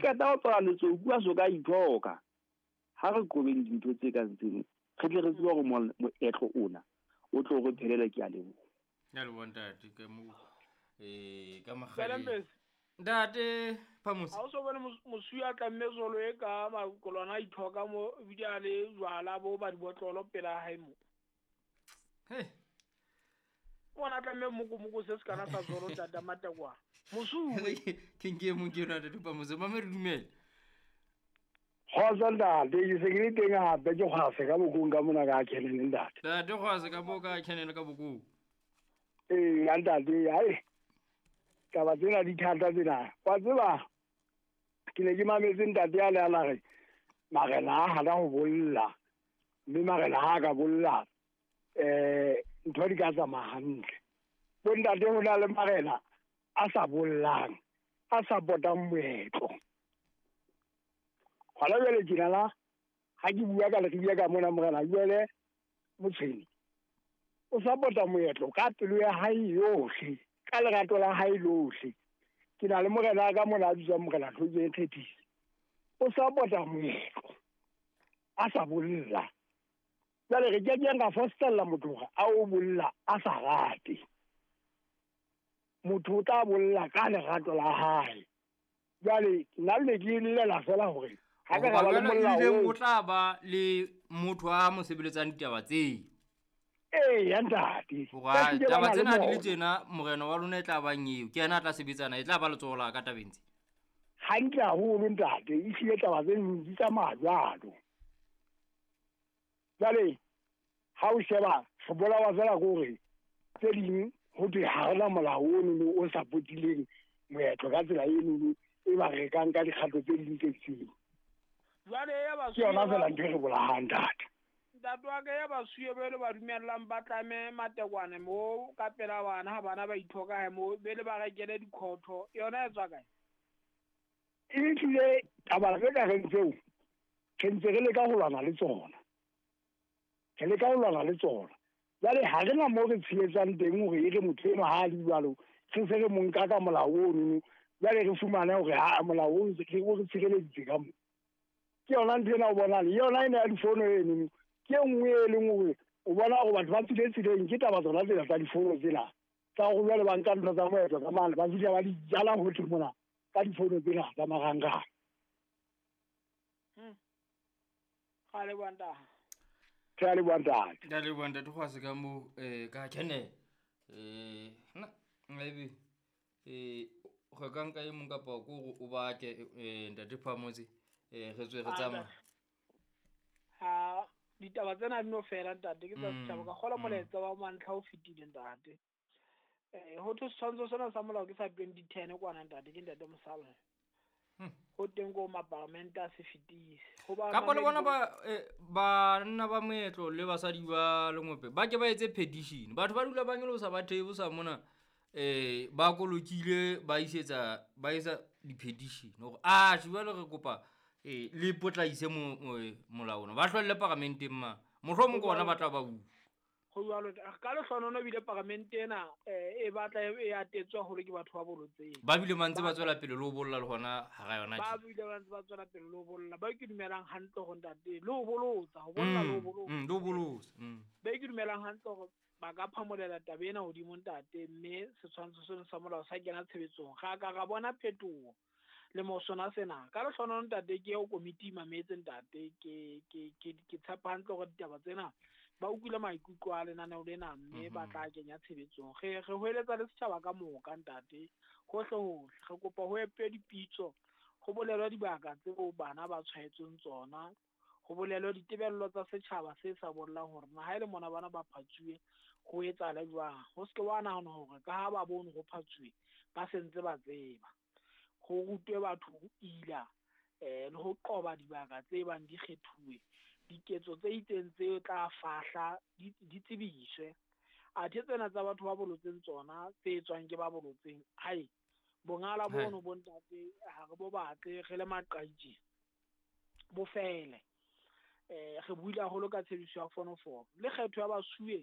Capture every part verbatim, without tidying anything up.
qeta ho tswala letsoku a so ka ithoka. Ha re qobeng dintho tse kang tseno, re tle re tsebe hore moetlo ona o tlo re phelela. Ke a leboha. Ke a leboha ntate ka mo eh ka makgale. Ntate Phamusi. Ha o so bone mosuwe a tlamme zolo e ka makolwana a ithoka mo ebile a le jwala bo ba dibotlolo pela hae mo. Hey. Bona tlamme mokomoko se se kana sa zolo tata matakwa. Mosuwe ke nke mo ke yona ntate Phamusi, mama re dumele. Kgotsa ntate, ke se ke le teng hape ke kgwase ka bokong ka mona ka kenene ntate. Ntate kgwase ka bo ka kenene ka bokong. Ee, ntate, hai. Taba tsena di thata tsena. Wa tseba ke ne ke mametse ntate a le a la re marena a hana ho bolla, mme marena ha a ka bolla eh ntho di ka tsamaya hantle. Bo ntate ho na le marena a sa bollang, a sa potang moetlo. Hona jwale tjena la ha ke bua ka Leribe ka mona morena jwale Motshweni o support-a moetlo ka pelo ya hae yohle, ka lerato la hae lohle. Ke na le morena ka mona a bitswang morena Tlhotseng Kgethisi, o support-a moetlo a sa bolla. Jwale re ke keng ra fostella motho hore a o bolla a sa rate. Motho o tla bolla ka lerato la hae. Jwale nna le ke llela fela hore ha ka ra ba le molao o tla ba le motho a mo sebeletsang ditaba tse. Ee, ntate. Hore taba tsena di le tjena, morena wa lona e tla bang eo, ke yena a tla sebetsana, e tla ba letsoho la ka tabeng tse. Hantle haholo ntate, ehlile taba tse di tsamaya jwalo. Jwale ha o sheba re bolawa fela ke hore tse ding ho thwe ha rena molao ono o supportileng moetlo ka tsela eno e ba rekang ka dikgato tse ding tse itseng. Jwale ya Ke yona fela ntho e re bolahang ntate. Ntate wa ka ya basuwe be le ba dumellang ba tlame matekwane mo ka pela bana ha bana ba ithoka hae mo be le ba rekele dikhotho, yona e tswa kae? Ehlile taba tse ka reng tseo re ntse re leka ho lwana le tsona, re leka ho lwana le tsona. Jwale ha re na moo re tshehetsang teng hore e re motho enwa ha a le jwalo re se re mo nka ka molao ono, jwale re fumane hore ha molao o re tshireleditse ka mo. Ke yona ntho ena o bonang le yona ena ya difono eno, ke e nngwe e leng hore o bona hore batho ba tswile tseleng ke taba tsona tsena tsa difono tsena tsa hore jwale ba nka ntho tsa moetlo ka mane ba fihla ba di jala hohle mona ka difono tsena tsa marangrang. Hmm. Ga le bua ntate. Ke a leboha ntate. Ke a leboha ntate Kgwase ka mo eh ka kene. Eh nna maybe eh go ka nka e mong kapa ko gore o bake eh ntate Phamotse eh re tswe re tsamaya. Ha ditaba tsena di no fela ntate, ke tsa setjhaba ka kgola molaetsa wa mantlha o fetile ntate. Eh ho thwe setshwantsho sena sa molao ke sa twenty ten kwana ntate, ke ntate Mosala. Ho teng ko maparamente a se fetise. Ho ba kapa le bona ba banna ba moetlo le basadi ba lengope ba ke ba etse petition. Batho ba dula ba nyolosa ba theosa mona eh ba kolokile ba isetsa ba etsa di-petition hore a jwale re kopa eh le potlaise molao ona ba hlolle paramenteng ma mohlomong ke ona ba tla ba bua. Ho jwalo ka lehlonono ebile paramente ena e batla e atetswa haholo ke batho ba bolotseng. Ba bile ba ntse ba tswela pele le ho bolla le hona hara yona Ba bile ba ntse ba tswela pele le ho bolla. Ba ke dumelang hantle hore ntate le ho bolotsa, ho bolla le ho bolotsa. Le ho bolotsa. Ba ke dumelang hantle hore ba ka phamolela taba ena hodimo ntate, mme setshwantsho seno sa molao sa kena tshebetsong. Ga ka ra bona phetoho le mo sona sena. Ka lehlonono ntate ke eo komiti e mametse ntate, ke ke ke ke tshepa hantle hore ditaba tsena ba utlwile maikutlo a lenaneo lena mme ba tla kenya tshebetsong. Re re hoeletsa le setjhaba ka moka ntate, hohle hohle. Re kopa ho epe dipitso, ho bolelwa dibaka tseo bana ba tshwaetsweng tsona, ho bolelwa ditebello tsa setjhaba se sa bollang hore na ha ele mona bana ba phatsuwe ho etsahala jwang. Ho se ke wa nahana hore ka ha ba bone ho phatsuwe ba sentse ba tseba. Ho rutwe batho ho ila eh le ho qoba dibaka tse bang di kgethuwe, diketso tse itseng tse tla fahla di tsebiswe. Athe tsena tsa batho ba bolotseng tsona tse etswang ke ba bolotseng, hai bongala bono bo ntate ha re bo batle re le maqaitje bo fele. Eh re buile haholo ka tshebediso ya fonofono le kgetho ya basuwe,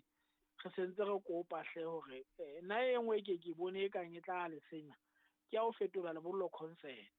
re sentse re kopa hle hore nna e nngwe ke ke bone e kang e tla le senya ke ya ho fetola lebollo concert.